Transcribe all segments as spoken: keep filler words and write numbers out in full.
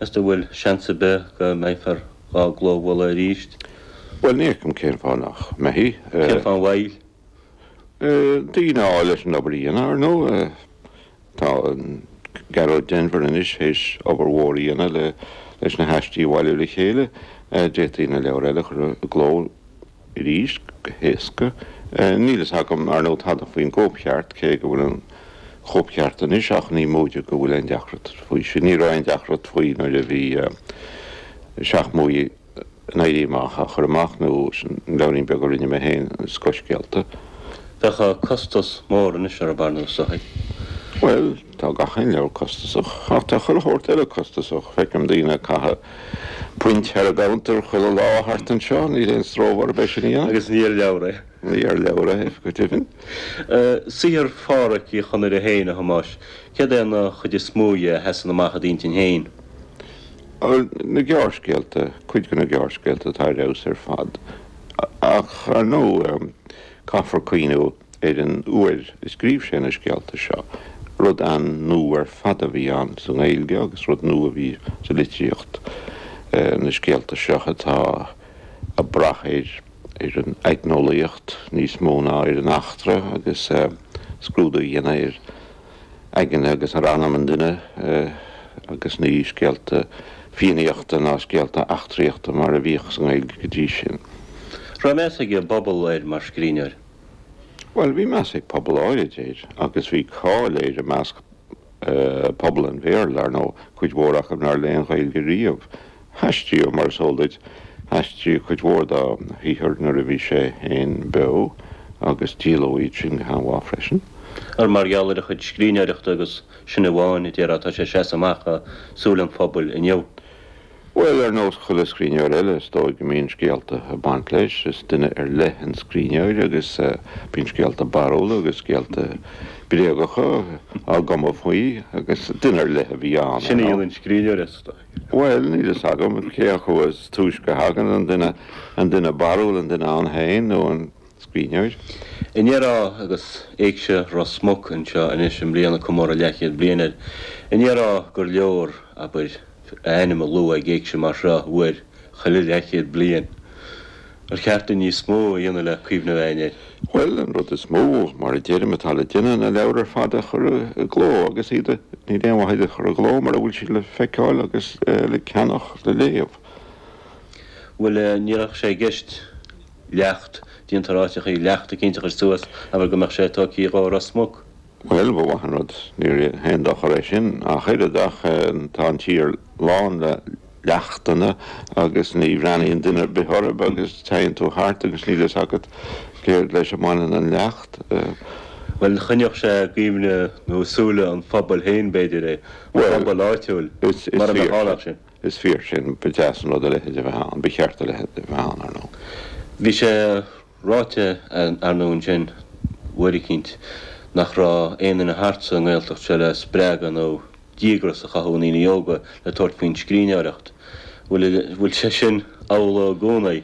Meas tú bhfuil seans ar bith go mbeifear dhá gclóbhualadh arís? Bhuel, ní fheicim cén fáth nach mbeifí. Cén fáth an mhoill? Daoine a fháil leis an obair a dhéanamh, ar ndóigh. Tá Gearóid Denvir anois théis obair mhór a dhéanamh le leis na haistí a bhailiú le chéile. D'fhéadfaí na leabhair eile a chur i gcló arís go héasca. Níl fhios agam, ar ndóigh, tada faoin gcóipcheart, cé go bhfuil an chóipcheart anois, ach ní móide go bhfuil aon deacracht faoi sin. Ní raibh aon deacracht faoi nuair a bhí Seacht mBuaidh an Éirí Amach á chur amach, nó an leabhairín beag a rinne mé féin, Scothscéalta. Bheadh costas mór anois ar an bpar, is dóigh. Bhuel, tá gach aon leabhar costasach, ach tá chuile shórt eile costasach. Feicim daoine ag caitheamh puint thar an gcuntar chuile lá thart anseo, níl aon stró orthu é sin a dhéanamh. Agus ní ar leabhar é. Ní ar leabhar é, go deimhin. Saothar Phádraic Uí Chonaire féin, a Thomáis, céard é an chuid is mó dhe a sheasann amach i d'intinn féin? Bhuel, na gearrscéalta, cuid de na gearrscéalta atá ar fheabhas ar fad. Ach, ar ndóigh, caithfear cuimhniú ar an uair a scríobh sé na scéalta seo. Rud an-nua ar fad a bhí ann sa nGaeilge agus rud nua a bhí sa litríocht, na scéalta seo atá ag brath ar ar an aigneolaíocht níos mó ná ar an eachtra agus scrúdú a dhéanamh ar aigne agus ar anam an duine agus ní scéalta fiannaíochta ná scéalta eachtraíochta mar a bhíodh sa nGaeilge go dtí sin. Raibh meas ag an bpobal air mar scríbhneoir? Bhuel, bhí meas ag pobal áirid air agus bhí cáil air i measc pobal an Bhéarla, ar ndóigh, cuid mhór acu nár léigh an Ghaeilge riamh. Haistríodh, mar is eol duit, haistríodh cuid mhór dá shaothar nuair a bhí sé féin beo agus díoladh iad sin go han-mhaith freisin. Ar mar gheall ar a chuid scríbhneoireachta agus sin amháin, a déarfá, atá sé ag seasamh amach i súile an phobail inniu? Bhuel, ar nós chuile scríbhneoir eile, is dóigh go mbíonn scéalta ag baint leis. Is duine ar leith an scríbhneoir agus bíonn scéalta barrúla agus scéalta bréagacha á gcumadh faoi agus duine ar leith a bhí ann, ar Sin a ndóigh. dhéanann an scríbhneoir, is dóigh. Bhuel, níl fhios agam cé acu is túisce a thagann, an duine, an duine barrúil, an duine ann féin nó an scríbhneoir. An ndéarfá, agus Éigse Ros Muc anseo anois i mbliana, comóradh leathchéad bliain air, an ndéarfá gur leor, abair, a ainm a lua ag éigse mar seo uair chuile leathchéad bliain? Ar cheart dúinn níos mó a dhéanamh le cuimhneamh againn air? Bhuel, an rud is mó, mar a deirim, atá le déanamh na leabhair ar fad a chur i gcló agus iad a, níl aon mhaith iad a chur i gcló mura bhfuil siad le feiceáil agus le ceannach, le léamh. Bhuel, ní raibh sé i gceist leacht, déantar áiteachaí leacht eicínt a chur suas, abair go mbeadh sé tógtha dhó i Ros Muc. Bhuel, ba mhaith an rud, ní haon dochar é sin ach oiread, ach tá an tír lán le leachtanna agus ní bhreathnaíonn duine ar bith orthu agus téann tú thart agus níl fhios agat céard leis a mbaineann an leacht. Bhuel, choinneodh sé i gcuimhne nó i súile an phobail féin, b'fhéidir, é, an pobal áitiúil, mura mbeadh ann ach sin. Is fíor sin, ba deas an rud a leithéid a bheith ann, ba cheart a leithéid a bheith ann, ar ndóigh. Bhí sé ráite, ar ndóigh, ansin uair eicínt nach raibh aon duine thart sa nGaeltacht seo le spreagadh nó díograis a chothú i ndaoine óga le tabhairt faoin scríbhneoireacht. Bhfuil, bhfuil sé sin amhlaidh i gcónaí?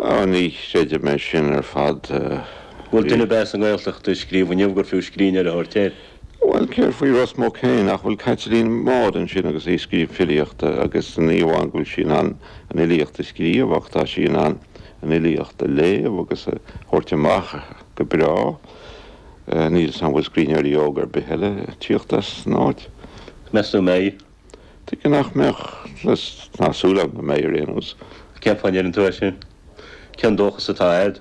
Á, ní chreidim é sin ar fad. Bhfuil duine ar bith sa nGaeltacht ag scríobh inniu gur fiú scríbhneoir a thabhairt air? Bhuel, céard faoi Ros Muc féin? Nach bhfuil Caitlín Maude ansin agus í ag scríobh filíochta agus ní amháin go bhfuil sí in ann an fhilíocht a scríobh ach tá sí in ann an fhilíocht a léamh agus a thabhairt amach go breá. Níl 'fhios a'm an bhfuil scríbhneoirí óga ar bith eile ag tíocht as an áit. Meas tú an mbeidh? Tuige nach mbeadh? Tá súil agam go mbeidh ar aon nós. Cén fáth a ndeireann tú é sin? Cén dóchas atá a'd?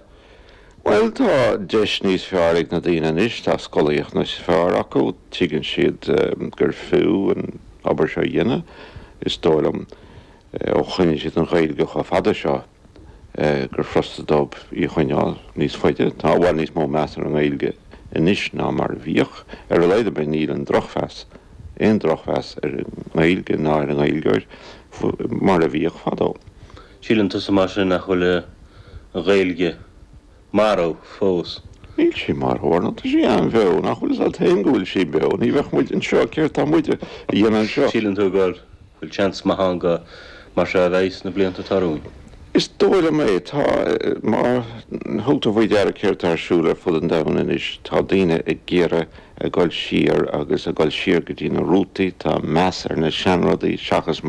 Bhuel, tá deis níos fearr ag na daoine anois, tá scolaíocht níos fearr acu, tuigeann siad gur fiú an obair seo a dhéanamh. Is dóigh liom, ó choinnigh siad an Ghaeilge chomh fada seo, gur furasta dóibh í a choinneáil níos faide. Tá i bhfad níos mó meas ar an nGaeilge anois ná mar a bhíodh. Ar a laghad ar bith níl an drochmheas, aon drochmheas ar an nGaeilge ná ar an nGaeilgeoir mar a bhíodh fadó. Síleann tusa mar sin nach bhfuil an Ghaeilge marbh fós? Níl sí marbh, ar ndóigh. Tá sí an-bheo. Nach bhfuil 'fhios a't féin go bhfuil sí beo? Ní bheadh muid anseo. Céard tá muid a dhéanamh anseo? Síleann tú go bhfuil seans maith ann go mar seo a bheidh sna blianta atá romhainn? Is dóigh liom é. Tá, má thug tú faoi deara céard atá ar siúl ar fud an domhain anois, tá daoine ag iarraidh a dhul siar agus a dhul siar go dtí na rútaí, tá meas ar na seanrudaí seachas mar